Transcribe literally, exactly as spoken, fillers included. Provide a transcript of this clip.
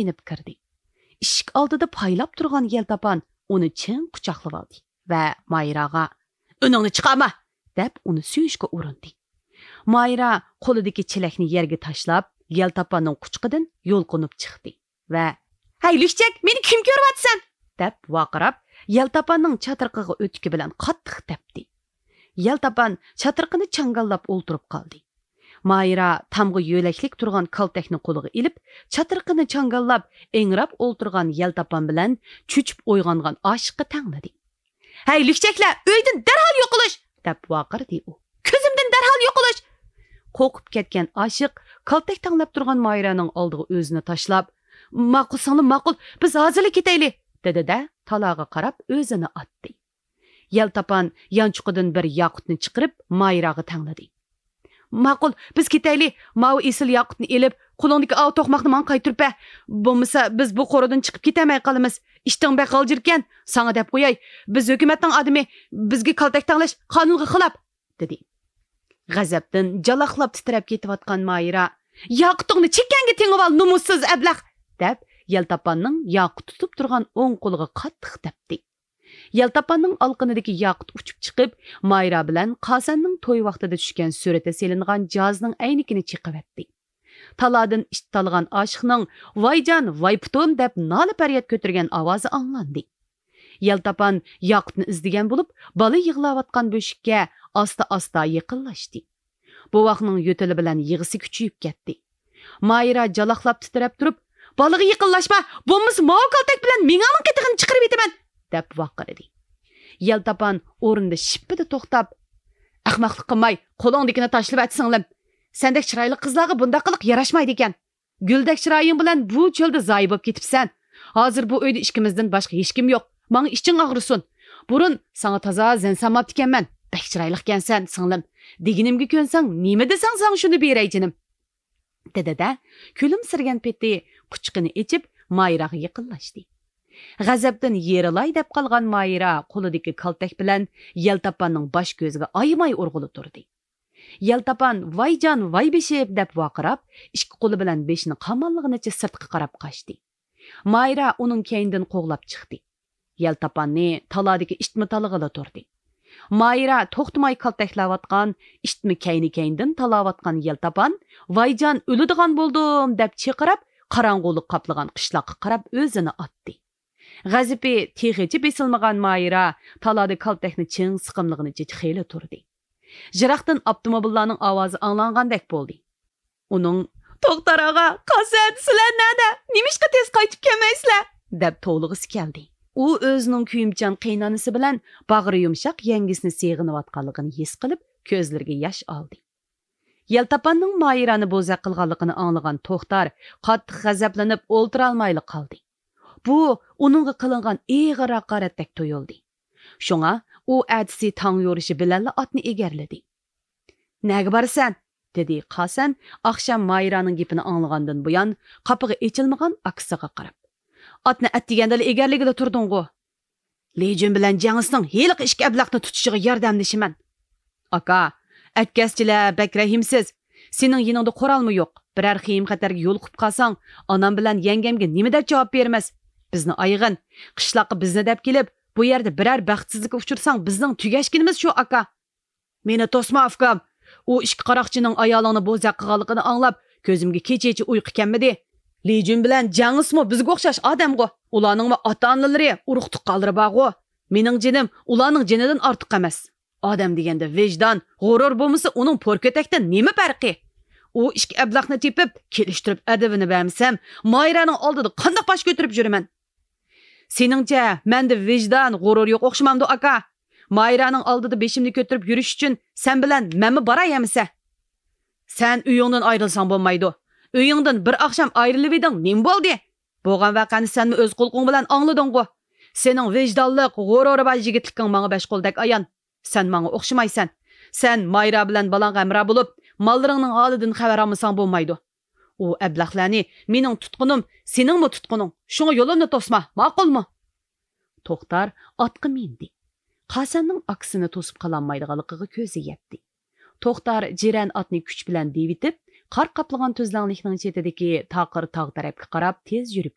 ئېنىپ كىردى. ئىشىك ئالدىدا پايلاپ تۇرغان يەلتاپان ئۇنى چىڭ قۇچاقلىۋالدى ۋە مايراغا، «ئۈنۈڭنى چىقارما!» دەپ، ئۇنى سۆيۈشكە ئۇرۇندى. مايرا قولىدىكى چېلەكنى يەرگە تاشلاپ، يەلتاپاننىڭ قۇچىقىدىن يۇلقۇنۇپ چىقتى ۋە، «ھەي، لۈكچەك، مېنى كىم كۆرۈۋاتىسەن؟» دەپ ۋارقىراپ، يەلتاپاننىڭ چاترىقىغا ئۆتۈكى بىلەن قاتتىق تەپتى. يەلتاپان چاترىقىنى چاڭگاللاپ ئولتۇرۇپ قالدى. مايرا تامغا يۆلەكلىك تۇرغان كالتەكنى قولىغا ئېلىپ، چاترىقىنى چاڭگاللاپ، ئىڭراپ ئولتۇرغان يەلتاپان بىلەن چۆچۈپ ئويغانغان ئاشىققا تەڭلىدى. «ھەي، لۈكچەكلەر، ئۆيدىن دەرھال يوقىلىش!» دەپ ۋارقىرىدى ئۇ. «كۆزۈمدىن دەرھال يوقىلىش!» قورقۇپ كەتكەن ئاشىق كالتەك تەڭلەپ تۇرغان مايرانىڭ ئالدىغا ئۆزىنى تاشلاپ، «ماقۇل، سىڭلىم، ماقۇل، بىز ھازىرلا كېتەيلى!» دېدى-دە، تالاغا قاراپ ئۆزىنى ئاتتى. يەلتاپان يانچۇقىدىن بىر ياقۇتنى چىقىرىپ، مايراغا تەڭلىدى. «ماقۇل، بىز كېتەيلى، ماۋۇ ئېسىل ياقۇتنى ئېلىپ، قولۇڭدىكى ئاۋۇ توقماقنى ماڭا قايتۇرۇپ بەر. بولمىسا، بىز بۇ قورۇدىن چىقىپ كېتەلمەي قالىمىز. ئىشتىڭ بەك غالجىركەن، ساڭا دەپ قوياي. بىز ھۆكۈمەتنىڭ ئادىمى، بىزگە كالتەك تەڭلەش قانۇنغا خىلاپ!» دېدى. غەزەپتىن جالاقلاپ تىترەپ كېتىۋاتقان مايرا، «ياقۇتۇڭنى چېكەڭگە تېڭىۋال، نومۇسسىز ئەبلەخ!» دەپ، يەلتاپاننىڭ ياقۇت تۇتۇپ تۇرغان ئوڭ قولىغا قاتتىق تەپتى. يەلتاپاننىڭ ئالىقىنىدىكى ياقۇت ئۇچۇپ چىقىپ، مايرا بىلەن قاسەننىڭ توي ۋاقتىدا چۈشكەن سۈرىتى سېلىنغان جازنىڭ ئەينىكىنى چېقىۋەتتى. تالادىن ئىشتىتالىغان ئاشىقنىڭ، «ۋايجان، ۋاي پۇتۇم!» دەپ نالە-پەرياد كۆتۈرگەن ئاۋازى ئاڭلاندى. يەلتاپان ياقۇتنى ئىزدىگەن بولۇپ، بالا يىغلاۋاتقان بۆشۈككە ئاستا-ئاستا يېقىنلاشتى. بوۋاقنىڭ يۆتىلى بىلەن يىغىسى كۈچىيىپ كەتتى. مايرا جالاقلاپ تىترەپ تۇرۇپ، «بالىغا يېقىنلاشما، بولمىسا ماۋۇ كالتەك بىلەن مېڭەڭنىڭ قېتىغىنى چىقىرىۋېتىمەن!» دەپ ۋارقىرىدى. يەلتاپان ئورنىدا شىپپىدە توختاپ، «ئەخمەقلىق قىلماي، قولۇڭدىكىنى تاشلىۋەت، سىڭلىم. سەندەك چىرايلىق قىزلارغا بۇنداق قىلىق ياراشمايدىكەن. گۈلدەك چىرايىڭ بىلەن بۇ چۆلدە زايە بولۇپ كېتىپسەن. ھازىر بۇ ئۆيدە ئىككىمىزدىن باشقا ھېچكىم يوق. ماڭا ئىچىڭ ئاغرىسۇن. بۇرۇن ساڭا تازا زەن سالماپتىكەنمەن. بەك چىرايلىقكەنسەن، سىڭلىم. دېگىنىمگە كۆنسەڭ، نېمە دېسەڭ، ساڭا شۇنى بېرەي، جېنىم.» دېدى-دە، كۈلۈمسىرىگەن پېتى قۇچىقىنى ئېچىپ، مايراغا يېقىنلاشتى. غەزەپتىن يېرىلاي دەپ قالغان مايرا قولىدىكى كالتەك بىلەن يەلتاپاننىڭ باش-كۆزىگە ئايىماي ئۇرغىلى تۇردى. يەلتاپان، «ۋايجان، ۋاي بېشىم!» دەپ ۋارقىراپ، ئىككى قولى بىلەن بېشىنى قاماللىغىنىچە سىرتقا قاراپ قاچتى. مايرا ئۇنىڭ كەينىدىن قوغلاپ چىقتى. يەلتاپاننى تالادىكى ئىتمۇ تالىغىلى تۇردى. مايرا توختىماي كالتەكلەۋاتقان ئىتمۇ كەينى-كەينىدىن تالاۋاتقان يەلتاپان، «ۋايجان، ئۆلىدىغان بولدۇم!» دەپ چىقىراپ، قاراڭغۇلۇق قاپلىغان قىشلاققا قاراپ ئۆزىنى ئاتتى. غەزىپى تېخىچە بېسىلمىغان مايرا تالادا كالتەكنى چىڭ سىقىملىغىنىچە خېلى تۇردى. يىراقتىن ئاپتوموبىللارنىڭ ئاۋازى ئاڭلانغاندەك بولدى. ئۇنىڭ، «توختار ئاغا، قاسەن، سىلەر نەدە؟ نېمىشقا تېز قايتىپ كەلمەيسىلەر؟» دەپ توۋلىغۇسى كەلدى. ئۇ ئۆزىنىڭ كۆيۈمچان قېيىنئانىسى بىلەن باغرى يۇمشاق يەڭگىسىنى سېغىنىۋاتقانلىقىنى ھېس قىلىپ، كۆزلىرىگە ياش ئالدى. يەلتاپاننىڭ مايرانى بوزەك قىلغانلىقىنى ئاڭلىغان توختار قاتتىق غەزەپلىنىپ ئولتۇرالمايلا قالدى. بۇ ئۇنىڭغا قىلىنغان ئېغىر ھاقارەتتەك تۇيۇلدى. شۇڭا ئۇ ئەتىسى تاڭ يورۇشى بىلەنلا ئاتنى ئېگەرلىدى. «نەگە بارىسەن؟» دېدى قاسەن ئاخشام مايرانىڭ گېپىنى ئاڭلىغاندىن بۇيان قاپىقى ئېچىلمىغان ئاكىسىغا قاراپ. «ئاتنى ئەتىگەندىلا ئېگەرلىگىلى تۇردۇڭغۇ.» «لى جۈن بىلەن جياڭ ئىسنىڭ ھېلىقى ئىككى ئەبلەخنى تۇتۇشىغا ياردەملىشىمەن.» «ئاكا، ئەتكەسچىلەر بەك رەھىمسىز. سېنىڭ يېنىڭدا قورالمۇ يوق. بىرەر خېيىم-خەتەرگە يولۇقۇپ قالساڭ، ئانام بىلەن يەڭگەمگە نېمە دەپ جاۋاب بېرىمىز؟ بىزنى ئايىغىن. قىشلاققا بىزنى دەپ كېلىپ، بۇ يەردە بىرەر بەختسىزلىككە ئۇچرىساڭ، بىزنىڭ تۈگەشكىنىمىز شۇ، ئاكا.» «مېنى توسما، ئۇكام. ئۇ ئىككى قاراقچىنىڭ ئايالىڭنى بوزەك قىلغانلىقىنى ئاڭلاپ، كۆزۈمگە كېچىچە ئۇيقۇ كەلمىدى. لى جۈن بىلەن جياڭ ئىسمۇ بىزگە ئوخشاش ئادەمغۇ. ئۇلارنىڭمۇ ئاتا-ئانىلىرى، ئۇرۇق-تۇغقانلىرى بارغۇ. مېنىڭ جېنىم ئۇلارنىڭ جېنىدىن ئارتۇق ئەمەس. ئادەم دېگەندە ۋىجدان، غۇرۇر بولمىسا، ئۇنىڭ پور كۆتەكتىن نېمە پەرقى؟ ئۇ ئىككى ئەبلەخنى تېپىپ، كېلىشتۈرۈپ ئەدىپىنى بەرمىسەم، مايرانىڭ ئالدىدا قانداق باش كۆتۈرۈپ يۈرىمەن؟» «سېنىڭچە، مەندە ۋىجدان، غۇرۇر يوق ئوخشىمامدۇ، ئاكا؟ مايرانىڭ ئالدىدا بېشىمنى كۆتۈرۈپ يۈرۈش ئۈچۈن سەن بىلەن مەنمۇ باراي ئەمىسە.» «سەن ئۆيۈڭدىن ئايرىلساڭ بولمايدۇ. ئۆيۈڭدىن بىر ئاخشام ئايرىلىۋىدىڭ، نېمە بولدى؟ بولغان ۋەقەنى سەنمۇ ئۆز قۇلىقىڭ بىلەن ئاڭلىدىڭغۇ. سېنىڭ ۋىجدانلىق، غۇرۇرى بار يىگىتلىكىڭ ماڭا بەش قولدەك ئايان. سەن ماڭا ئوخشىمايسەن. سەن مايرا بىلەن بالاڭغا ھەمراھ بولۇپ، ماللىرىڭنىڭ ھالىدىن خەۋەر ئالمىساڭ بولمايدۇ. ئۇ ئەبلەخلەرنى مېنىڭ تۇتقۇنۇم، سېنىڭمۇ تۇتقۇنۇڭ. شۇڭا يولۇمنى توسما، ماقۇلمۇ؟» توختار ئاتقا مىندى. قاسەننىڭ ئاكىسىنى توسۇپ قالالمايدىغانلىقىغا كۆزى يەتتى. توختار جىرەن ئاتنى كۈچ بىلەن دېۋىتىپ، قار قاپلىغان تۈزلەڭلىكنىڭ چېتىدىكى تاقىر تاغ تەرەپكە قاراپ تېز يۈرۈپ